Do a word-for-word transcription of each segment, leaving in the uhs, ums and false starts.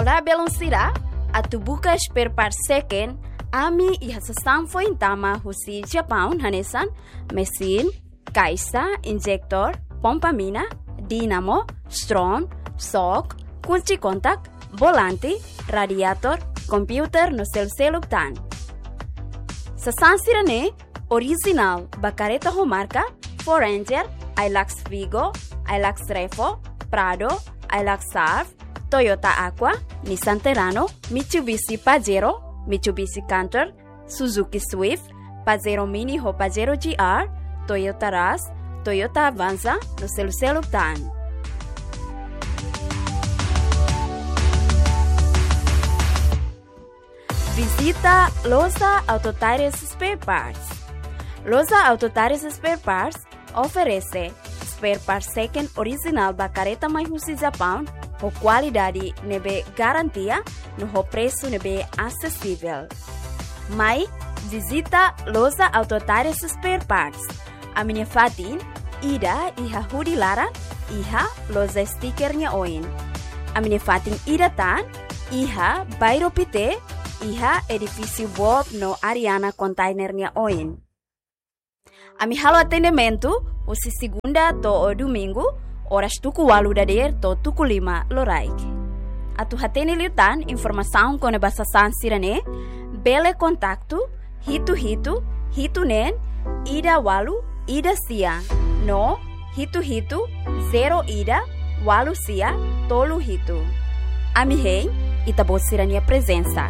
Olá, belun sira, atu buka spare part seken, ami iha sasán foin tama husi Japaun hanesan mesin, kaixa, injektór, pompa mina, dínamo, strom, xok, kunci kontak, volante, radiatór, komputadór no selu-seluk tan. Sasán sira-ne'e orijinál ba kareta ho marka Ford Ranger, Hilux Vigo, Hilux Revo, Prado, Hilux Surf, Toyota Aqua, Nissan Terrano, Mitsubishi Pajero, Mitsubishi Canter, Suzuki Swift, Pajero Mini ho Pajero G R, Toyota Rush, Toyota Avanza no selu-seluk tan. Vizita Loja Auto Tires Spare Parts. Loja Auto Tires Spare Parts oferese spare part seken orijinál ba kareta mai husi Japaun ho kualidade ne'ebé garantia no ho presu ne'ebé asesivel. Mai vizita Loja Auto Tires Spare Parts. Ami-nia fatin ida iha Hudi Laran, iha loja stiker nia oin. Ami-nia fatin ida tan iha Bairro Pité, iha edifísiu Bob no Ariana Container nia oin. Ami halo atendimentu husi segunda to'o domingu, oras tuku ualu dadeer to'o tuku lima loraik. Atu hatene liután informasaun kona-ba sasán sira-ne'e, bele kontaktu hitu hitu hitu neen ida ualu ida sia no hitu hitu zero ida ualu sia tolu hitu. Ami hein ita-boot sira-nia prezensa.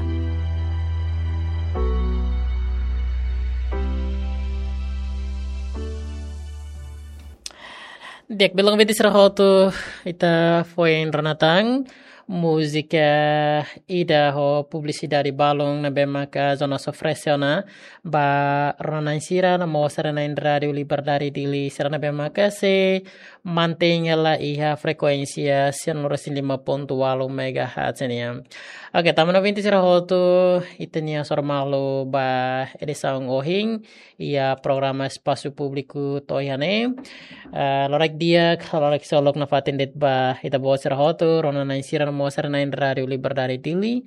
Di'ak, belun ouvinte sira hotu, ita foin rona tan múzika ida ho publisidade balun ne'ebé maka Jonas oferese ona ba rona-na'in sira no mós sira-na'in Rádiu Liberdade Dili sira ne'ebé maka sei mantein hela iha frekuénsia cento e cinco ponto oito megahertz nian. Oke, tanba ouvinte sira hotu, ita-nia hasoru malu ba edisaun ohin iha programa Espasu Públiku to'o iha ne'e. Ah, loraik di'ak, loraik ksolok nafatin de'it ba ita-boot sira hotu, rona-na'in sira no mós sira-na'in Rádiu Liberdade Dili.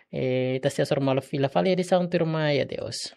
Eh, ita sei hasoru malu fila fali edisaun tuirmai, adeus.